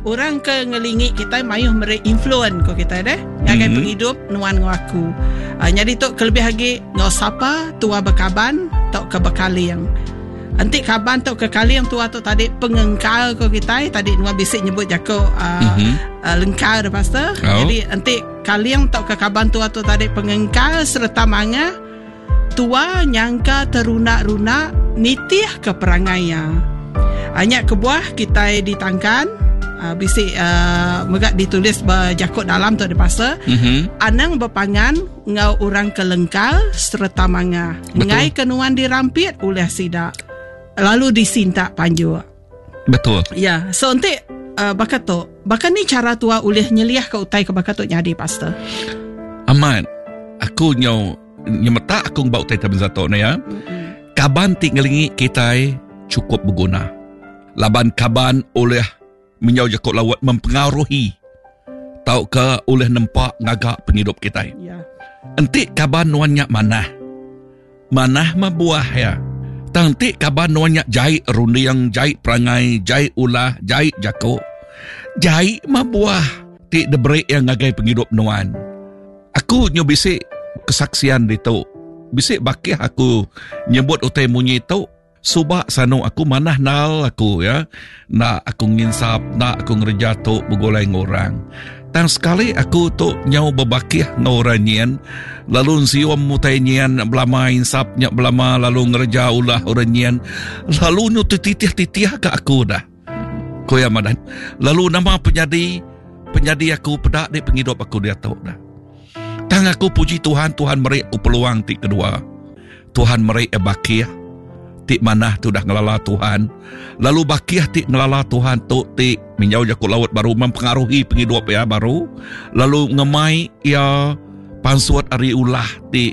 Orang ke ngelingi kitai mayuh meri influen ko kitai deh ngagai mm-hmm. pengidup nuan enggau aku. Uh, nyadi tu kelebih agi enggau sapa tua bekaban tauka bekaling. Enti kaban tauka kaling tua tu tadi pengengkal ko kitai tadi nuan bisi nyebut jaku uh, mm-hmm. uh, lengkar deh pastor. Oh. Jadi enti kaling tauka kaban tua tu tadi pengengkal sereta mangah Tua nyangka teruna-runa nitih ke perangai iya. Nya kebuah kitai ditangkan bisi mega ditulis ba jaku dalam tu dipasa mm-hmm. anang bepangan enggau orang ke lengkal sereta mangah. Enggai ke nuan dirampit ulih sida lalu disintak panjuk. Betul. Ya, so enti uh, baka tu, baka ni cara tua ulih nyeliah ke utai ke baka tu nyadi pastor? Amat. Aku nyau nyemetak aku ngeba utai tabenza tu ne ya. Kaban ti ngelingi kitai cukup beguna. Laban kaban ulih menyau jaku laut mempengaruhi tauka ulih nempa ngaga pengidup kitai. Ya. Enti kaban nuan nya manah, manah mah buah ya. Tang enti kaban nuan nya jai runding, jai perangai, jai ulah, jai jaku, jai mah buah ti diberi iya ngagai pengidup nuan. Aku nyu bisi kesaksian ditu. Bisi bakih aku nyebut utai munyi tu, suba sanu aku manah nal aku ya. Enda aku nginsap, enda aku ngereja tu begulai enggau orang. Tang sekali aku tu nyau bebakih enggau orang nyin, lalu ensium utai nyin belama insap nya belama lalu ngereja ulah orang nyin, lalu nyu tetitih-titih ka aku dah. Ku iya madah, lalu nama penyadi penyadi aku peda di pengidup aku diatu dah. Tang aku puji Tuhan, Tuhan meri aku peluang ti kedua. Tuhan meri iya bakih ti manah ti udah ngelala Tuhan. Lalu bakih ti ngelala Tuhan tu ti minjau jaku laut baru mempengaruhi pengidup iya baru lalu ngemai iya pansut ari ulah ti.